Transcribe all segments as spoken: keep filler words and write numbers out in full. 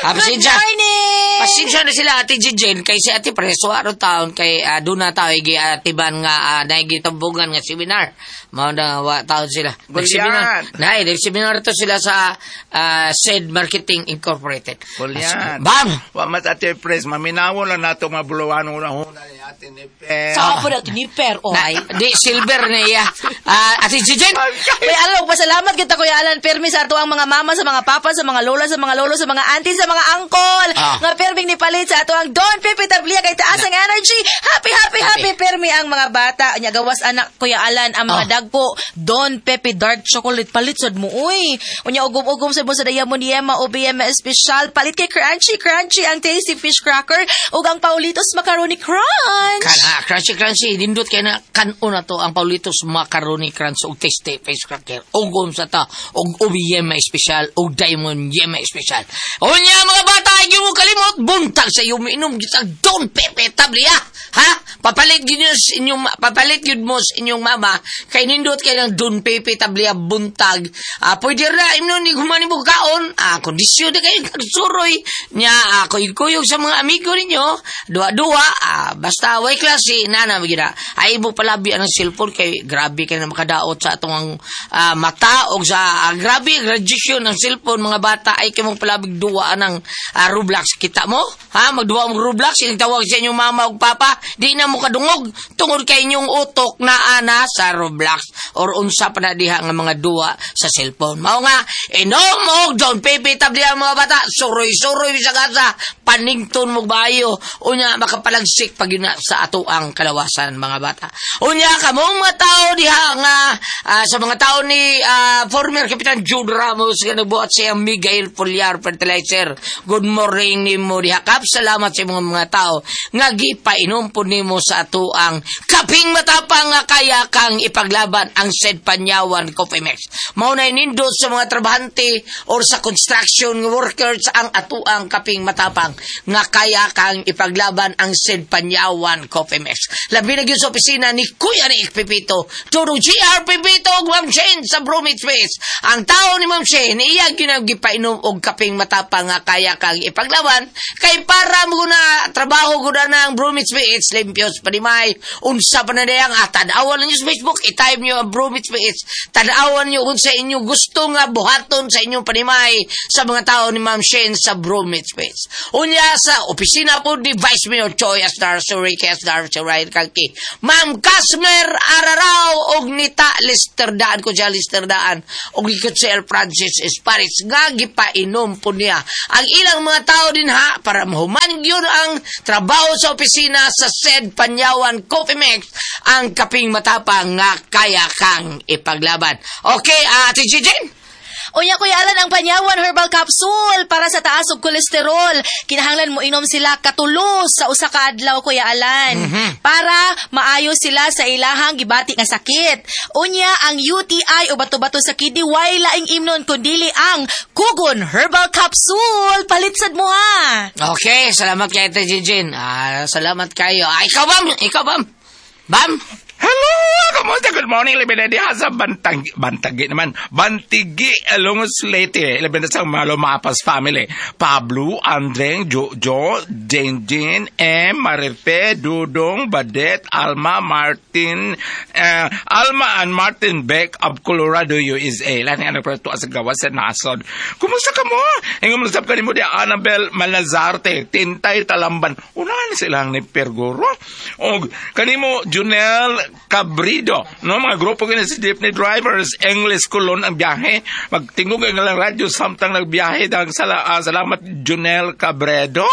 Ah, Good pasensya. morning! Pasensya na sila Ate Jijen kay si Ate Preso aron taon kay uh, doon na tao igi atiban nga uh, naigitambungan nga seminar. Mao na wa taon sila. Gulyan. Nay, nag-seminar to sila sa uh, Said Marketing Incorporated. Gulyan. Bam! Wa mat Ate Pres, maminawo lang nato mga buluwan una-una ni Ate Niper. Sa po na tiniper, oh. Na, di silver na iya. Ah, Ate Jijen! Kuya Alan, pasalamat kita Kuya Alan permi sa ato ang mga mama, sa mga papa, sa mga lola, sa mga lolo, sa mga auntie, sa mga angkol. Ah. Nga perming ni palit sa ato ang Don Pepe Tablia kay taas ang energy. Happy, happy, happy permi ang mga bata. Nya gawas anak Kuya Alan ang mga Ah. dagko Don Pepe Dark Chocolate palit sad mo uy. Unya ugom-ugom sad mo sa Diamond Yema o B M Special palit kay Crunchy Crunchy ang tasty fish cracker ug ang Paulitos Macaroni Crunch. Kan, ah, crunchy crunchy dindot kay na kanon na to ang Paulitos Macaroni Crunch ug tasty fish cracker. Ugom sa ta ug O B M Special ug Diamond Yema Special. Unya mga bata, ay mo kalimot buntag sa iyo miinom gyud sa Don Pepe Tablia. Ha? Papalit gyud niyo sa inyong papalit gyud mo sa inyong mama kay nindot kay ng Don Pepe Tablia buntag. Ah, pwede ra imnon ni human mo kaon. Ah, kondisyon na kayo kagsuroy nya ah, kuyog-kuyog sa mga amigo ninyo. Duwa-duwa, ah, basta way klase nana magyud na. Ay mo palabi ang cellphone kay grabe kay na makadaot sa atong ah, mata og sa ah, grabe radiation ng cellphone mga bata ay kay mong palabig duwa ng ah, Roblox kita mo ha magduwa mo Roblox tawag sa inyong mama ug papa di na mo kadungog tungod kay inyong utok na ana sa Roblox or unsa pa na diha nga mga duwa sa cellphone mao nga inom og Don Pepe Tablia mga bata suroy-suroy bisag asa panington mo bayo unya makapalagsik pag yun na sa ato ang kalawasan mga bata unya kamong mga tao diha nga ah, sa mga tao ni ah, former Kapitan Jude Ramos nga nagbuhat siya Miguel Pulyar Fertilizer good morning nimo diha kap salamat sa imong mga tao nga gipainom po nimo sa ato ang kaping matapang nga kaya kang ipaglaban ang said Panyawan Coffee Mix mao na nindot sa mga trabahante or sa construction workers ang atuang kaping matapang nga kaya kang ipaglaban ang said Panyawan Coffee Mix labi na gyud sa opisina ni Kuya ni Pepito Turong G R Pepito ug Ma'am Shane sa Bromit Space ang tao ni Ma'am Shane iya gyud ang gipainom og kaping matapang nga kaya kang ipaglaban kay para mo na trabaho gud na ang Bromit Space limpios panimay unsa pa na dayang ah, tan-awan ninyo sa Facebook i-type niyo ang Bromit Space tan-awan niyo unsa inyo gusto nga buhaton sa inyong panimay sa mga tao ni Ma'am Shane sa Bromit Space unya sa opisina po ni Vice Mayor Choi Asnar Suri Kesnar Suray Kalki Ma'am Casmer Araraw og Nita Lester Daan ko siya Lester Daan og ni Kutsel Francis Esparis nga gipainom po niya ang ilang mga tao din ha para mahuman gyud ang trabaho sa opisina sa said Panyawan Coffee Mix ang kaping matapang nga kaya kang ipaglaban. Okay, uh, Ate Jijen? Unya Kuya Alan ang Panyawan Herbal Capsule para sa taas og kolesterol. Kinahanglan mo inom sila katulo sa usa ka adlaw Kuya Alan para maayo sila sa ilahang gibati nga sakit. Unya ang U T I o bato-bato sa kidney way laing imnon kundili ang Kugon Herbal Capsule. Palit sad mo ha. Okay, salamat kay Ate Jijen. Ah, salamat kayo. Ah, ikaw bam? Ikaw bam? Bam? Hello! Kamusta? Good morning, labi na diha sa Bantang, Bantagi naman. Bantigi, Lungos Leyte. Labi na sa mga Lumapas family. Pablo, Andreng, Jojo, Jane Jane, M, Marife, Dudong, Badet, Alma, Martin, eh, Alma and Martin Beck of Colorado, U S A. Lahat nga nagprato sa gawas sa nasod. Kumusta ka mo? Ingon mo ka nimo di Annabel Malazarte, Tintay Talamban. Unahan silang ni Pergoro. Og kanimo Junel Cabrido, no mga grupo kini si jeepney drivers, English Colon ang biyahe. Magtingog ang ilang radyo samtang nagbiyahe dahil sala, ah, salamat Junel Cabredo.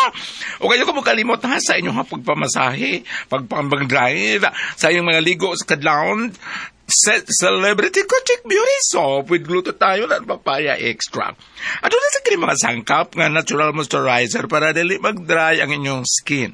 O kayo ko mo kalimot ha sa inyong pagpamasahe, pagpambang drive, sa inyong mga ligo sa kadlawon. Ce- Celebrity Kochik Beauty Soap with glutathione at papaya extract. Ato na sa kini mga sangkap nga natural moisturizer para dili mag-dry ang inyong skin.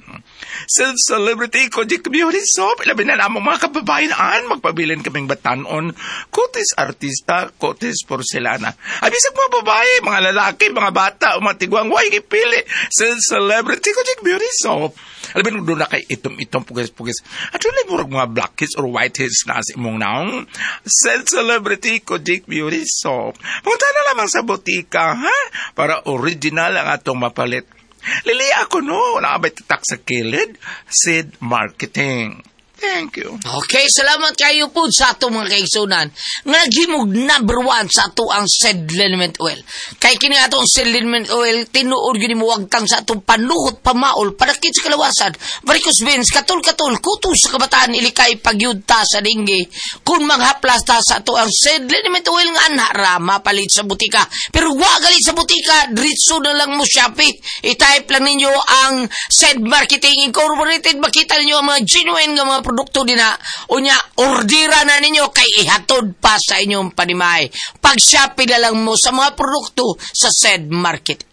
Sa Celebrity Kojic Beauty Soap, ilabi na namong mga kababayan magpabilin kaming batanon, kutis artista, kutis porcelana. Ay, bisag mga babae, mga lalaki, mga bata, o mga tigwang, way gipili sa Celebrity Kojic Beauty Soap. Alam mo, doon na kay itom-itom, pugis-pugis. At doon murag mga blackheads or whiteheads na sa imong naong. atong Said Celebrity Kojik Beauty Soap. Punta na lamang sa botika, ha? Para original ang atong mapalit. Lili ako no, wala ka tatak sa kilid? Sid Marketing. Thank you. Okay, salamat kayo po sa atong mga kaigsunan nga gimog number one sa ato ang Said Liniment Oil. Kay kini atong Said Liniment Oil, tinuod gyud mo wagtang sa atong panuhot, pamaol, panakit sa kalawasan, varicose veins, katul-katul, kuto sa kabataan, ilikay, pagyudta sa dinggi. Kung manghaplas ta sa ato ang Said Liniment Oil nga anha ra, mapalit sa butika. Pero wa galit sa butika, diretso na lang mo Shopee. I-type lang ninyo ang Said Marketing Incorporated, makita ninyo ang mga genuine nga mga produkto dina. Unya, ordira na ninyo kay ihatod pa sa inyong panimay. Pag-Shopee na lang mo sa mga produkto sa Said Market.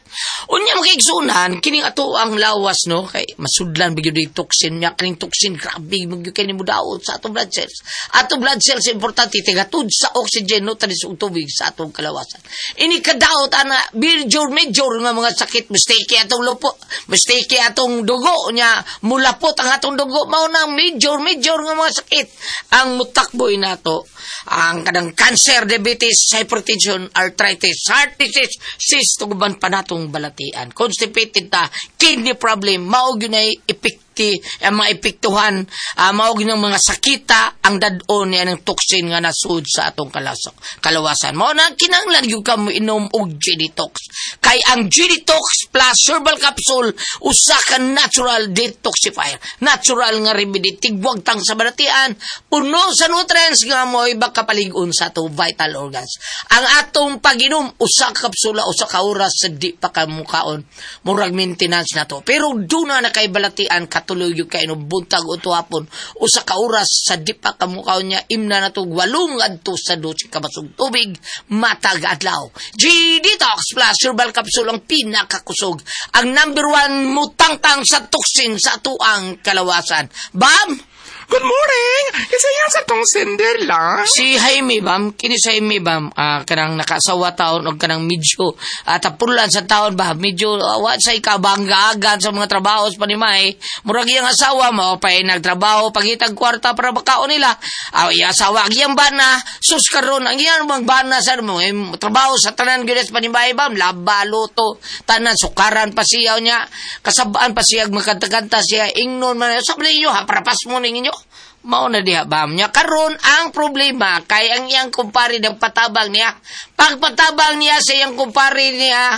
Unya mga kaigsunan, kining ato ang lawas no kay masudlan bigyo di toxin nya kining toxin grabe magyud kay nimo daot sa atong blood cells. Atong blood cells importante tigatud sa oxygen no tanis og tubig sa atong kalawasan. Ini kadaot ana major major nga mga sakit mistake atong lupo, mistake atong dugo nya mulapot ang atong dugo mao nang major major nga mga sakit ang mutakboy nato. Ang kanang cancer, diabetes, hypertension, arthritis, heart disease, cyst uban pa natong balatian. Constipated ta, kidney problem, mao gyud nay epekti, ang mga epektuhan, uh, mao gyud ang mga sakita ang dad-on niya ng toxin nga nasud sa atong kalasok, kalawasan. Mao na kinahanglan gyud ka mo inom og G-Detox. Kay ang G-Detox plus herbal capsule usa ka natural detoxifier. Natural nga remedy tigwagtang sa balatian, puno sa nutrients nga mo'y makapalig-on sa atong vital organs. Ang atong pag-inom usa ka kapsula usa ka oras sa di pa ka mukaon, murag maintenance na to. Pero duna na kay balatian katuloy gyud kay inom buntag o hapon usa ka oras sa di pa ka mukaon niya imna na to walong ngadto sa dose ka basog tubig matag adlaw. G-Detox plus herbal capsule ang pinakakusog, ang number one mutangtang sa toxin sa atuang kalawasan. Bam! Good morning! Kasi yan sa tong sender lang. Si Jaime, bam, kini si Jaime, bam, uh, kanang nakaasawa taon o kanang medyo uh, tapulan sa taon ba, medyo uh, wa sa ikabangga-agan sa mga trabaho sa panimay. Murag iyang asawa mo, pa nagtrabaho, pagitag kwarta para makaon nila. Uh, iyang asawa, ang iyang bana, sus karon, ang iyang bang bana sa mo, eh, trabaho sa tanan gyud sa panimay, bam, laba, luto, tanan, sukaran pa siya niya, kasabaan pa siya, magkanta-kanta siya, ingnon man, sabi ninyo, ha, parapas mo ninyo. Mao na diha bam niya. Karon ang problema kay ang iyang kumpare ng patabang niya. Pagpatabang niya sa iyang kumpare niya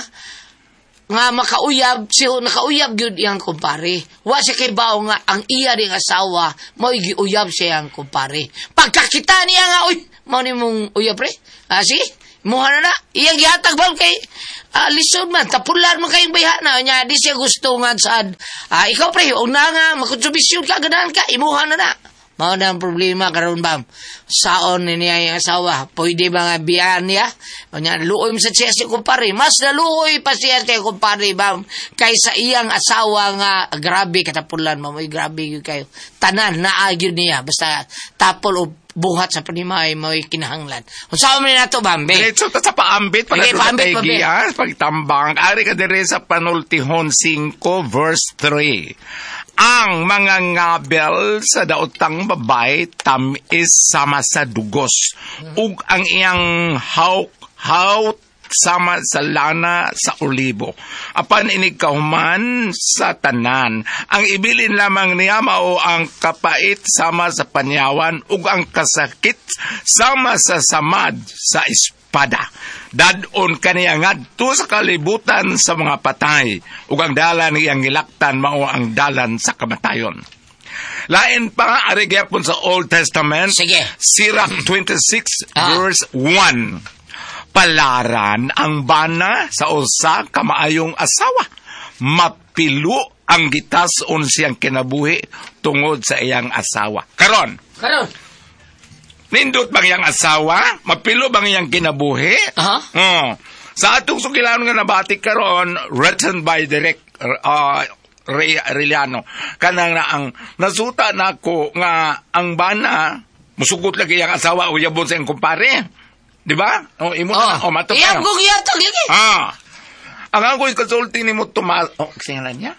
nga makauyab, siya nakauyab gyud iyang kumpare. Wa siya kay bao nga ang iya ding asawa mao giuyab siya iyang kumpare. Pagkakita niya nga uy, mao ni mong uyab pre. Ah, sige, muha na na. Iyang gihatag bam kay uh, lisod man, tapulan man kayong bayhana niya. Di siya gusto nga sad. Ah, ikaw pre, una nga makontribusyon ka, ganahan ka, imuha na na. Mao na ang problema karon bam. Saon ni niya yung asawa, pwede ba nga biyaan niya? O niya, luoy mo sa siya si kumpare. Mas naluoy pa siya kay kumpare bam kaysa iyang asawa nga grabe katapulan mo, grabe yun kayo. Tanan naa gyud niya basta tapol o buhat sa panimay mo'y kinahanglan. Unsa man nato bam, be? Diretso ta sa paambit Sige, pag paambit, paambit. Pagtambang ari ka dire sa Panultihon five verse three. Ang mga ngabel sa daotang babay tamis sama sa dugos, ug ang iyang hawk hawt sama sa lana sa olibo. Apan inigkahuman sa tanan, ang ibilin lamang niya mao ang kapait sama sa panyawan ug ang kasakit sama sa samad sa espada. Dadon kaniya ngadto sa kalibutan sa mga patay, ug ang dalan iyang gilaktan mao ang dalan sa kamatayon. Lain pa ari gyapon sa Old Testament. Sige. Sirach twenty-six Ah. verse one. Palaran ang bana sa usa ka maayong asawa. Mapilo ang gitason siyang kinabuhi tungod sa iyang asawa. Karon. Karon. Nindot bang iyang asawa? Mapilo bang iyang kinabuhi? Aha. Oh. Sa atong sugilanon nga nabati karon, written by Direk uh, Ray Arellano. Kanang na ang nasuta nako nga ang bana musugot lagi iyang asawa o yabon sa iyang kumpare. Di ba? O imo na Oh, o mato iyang pa. kong ihatag lagi. Ah. Ang ako'y kasulti nimo Tomas. Oh, singalan niya?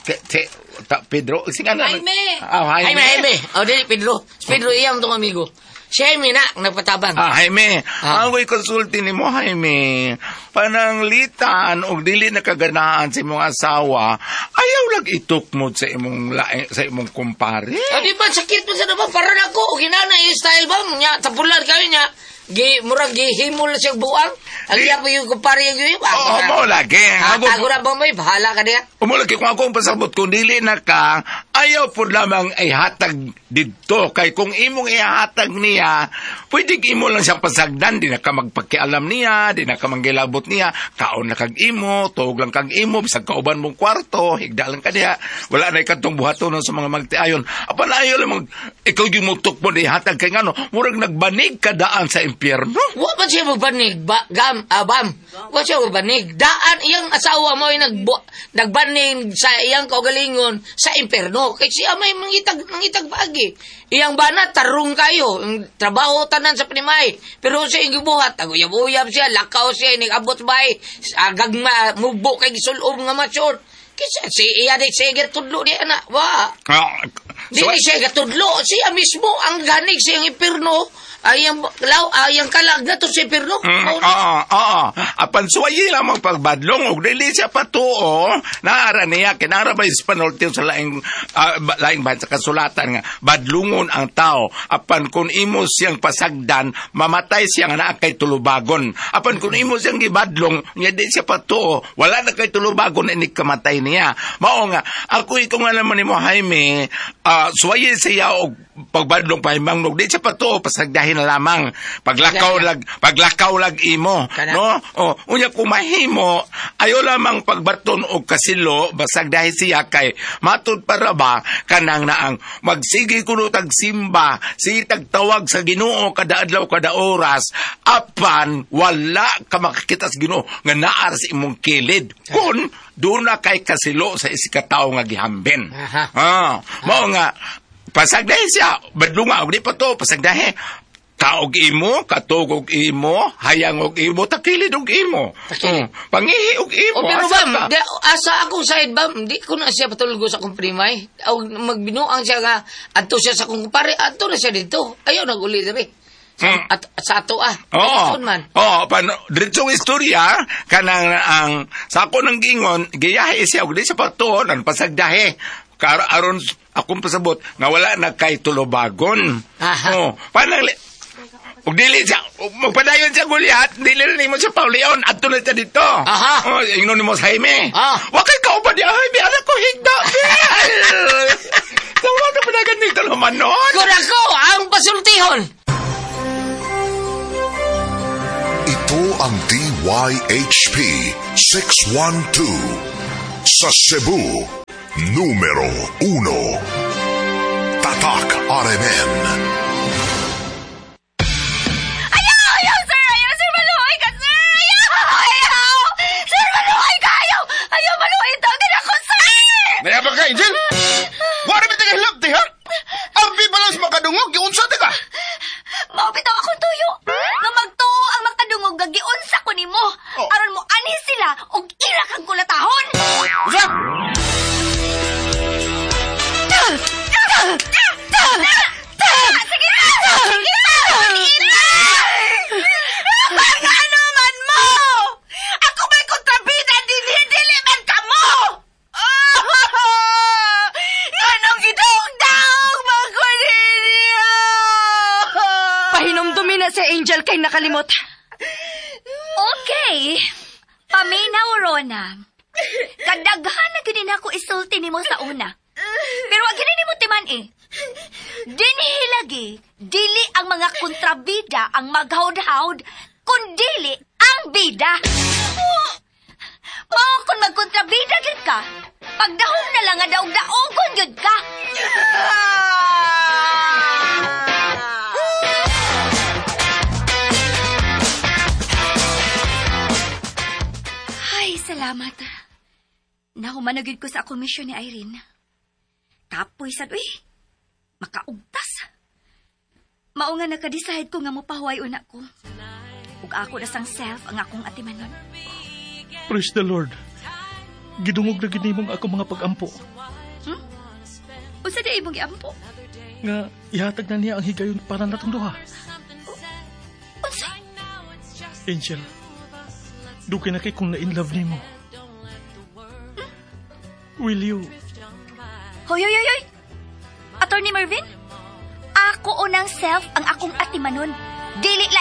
Te, te, ta, Pedro, singalan. Jaime. Ah, Jaime. Jaime, Jaime. Oh, dili Pedro. Pedro iyang tong amigo. Si Jaime na, ang nagpatabang. Ah, Jaime, Ah. ang ako'y konsulti nimo, Jaime. Pananglitan og dili nakaganaan sa imong asawa, ayaw lang itukmod sa imong lae, sa imong kumpare. O, di ba, sakit mo sa naman, para na ako, o ginana, yung style ba, nya, tapulan kayo niya, gi, murag gihimol na siyang buang. Ang iya po yung kumpare yung yung. Oo, mo lagi. Ah, Ako- tago na ba may, bahala ka niya. Umulagi kung ako ang pasabot, kung dili na ka, ayaw po lamang ay hatag didto. Kay kung imong ihatag niya, pwede imo lang siyang pasagdan, di na ka magpakialam niya, di na ka manggilabot niya, kaon na kag imo, tuog lang kag imo, bisag kauban mong kwarto, higda lang ka niya, wala na ikatong buhaton sa mga magtiayon. Apan ayaw lamang, ikaw yung mutok mo na ihatag kay ngano, murag nagbanig ka daan sa impyerno. Wa man siya magbanig, ba, gam, abam. Wa siya magbanig. Daan iyang asawa mo ay nagbu, nagbanig sa iyang kaugalingon sa impyerno. Kay siya may mangitag, mangitag pagi. Iyang bana, tarong kayo. Ang trabaho tanan sa pinimay. Pero siya iyang gibuhat, aguyab-uyab siya, lakaw siya, inigabot bay, agagma, mubo kay gisulob nga mature. Kisa si iya di siya tudlo niya na. Wa. Ah, Di so- ni siya gatudlo. Siya mismo ang ganig sa iyang impirno. Ay ang law, ay ang kalag na to sa impirno. Mm, Mao na. oo, oo. Apan suwayi lamang pagbadlong og dili siya patuo. Naara niya kinara ba Espanyol tiyo sa laing ah, ba- laing bahan sa kasulatan nga badlungon ang tao. Apan kung imo siyang pasagdan, mamatay siya nga naa kay tulubagon. Apan kung imo siyang gibadlong, nya di siya patuo, wala na kay tulubagon ini kamatay niya. Mao nga ako ikaw nga naman nimo Jaime, ah, suwayi siya og pagbadlong pahimang og di siya patuo pasagdahin na lamang. Paglakaw lag paglakaw lag imo, Kana. no? O, unya kung mahimo, ayo lamang pagbaton og kasilo, basag dahil siya kay matud para ba kanang naang magsige kuno tag simba, sige tagtawag sa Ginoo kada adlaw kada oras, apan wala ka makakita sa Ginoo nga naa sa imong kilid. Kun doon na kay kasilo sa isikatawo nga gihambin. Aha. Ah, mao nga pasagdahi siya, badlunga og di pa to pasagdahi. Kaog imo, katog og imo, hayang og imo, takilid og imo. Takilid. Mm, pangihi og imo. O pero asa bam, ka? di, asa akong side bam, di ko na siya patulgo sa akong primay. O magbinuang siya nga, adto siya sa akong kumpare, adto na siya dito. Ayaw naguli diri. Sa, Mm. at, sa ato ah. Oo. Saan man. Oo, paano, diretsong istorya, kanang ang, sa ako ng gingon, giyahe siya, og di siya patuon, ang pasagdahi. Kar aron akong pasabot, nga wala na kay tulubagon. Aha. Oo, panang, ug dili siya, ug magpadayon siya Goliath, dili na nimo siya paulion, adto na siya dito. Aha. Oh, ingnon nimo sa Jaime. Ah. Wa kay kauban di Jaime, anak ko higda. Tawa na panagan nito naman noon. Kun ako ang pasultihon. Ito ang D Y H P six one two sa Cebu, numero uno. Tatak R M N. Ayaw! Ayaw, sir! Ayaw, sir! Maluhay ka, sir! Ayaw! Ayaw! Sir, maluhay ka! Ayaw! Ayaw, maluhay! Tawagin ako, sir! Naya ba ka, Angel? Wala ba tayo hilabti, ha? Ang pa lang sa makadungog, giunsa ta ka? Maupitaw akong tuyo. Nga magtuo ang makadungog nga giunsa ko nimo. Oh. Aron mo anhi sila og ira kang kulatahon. Unsa? Sige na! Sige na! Sige na! Ano man mo? Ako ba'y kontrabida? Dili, dili man ka mo! Anong gidaog-daog mo ko ninyo? Pahinumdumi na si Angel kay nakalimot. Okay. Paminaw, Rona. Kadaghan na gini na ako isulti nimo sa una. Pero wag gini nimo timan eh. Dinhi lagi, dili ang mga kontrabida ang maghawd-hawd, kundili ang bida. Mao kung magkontrabida gyud ka, pagdahom na lang nga daog-daogon gyud ka. Ay, salamat. Nahuman na gyud ko sa akong misyon ni Irene. Kapoy sad, uy. Makaugtas. Mao nga naka-decide ko nga mopahuway una ko. Ug ako na sang self ang akong atimanon. Praise the Lord. Gidungog na gid nimong ako mga pagampo. Hmm? Unsa di imong giampo? Nga, ihatag na niya ang higayon para natong duha. Unsa? Angel, dugay na kay kong na-in love nimo. Will you? Hoy, hoy, hoy, hoy! Attorney Mervin? Ako unang self ang akong atimanon. Dili laing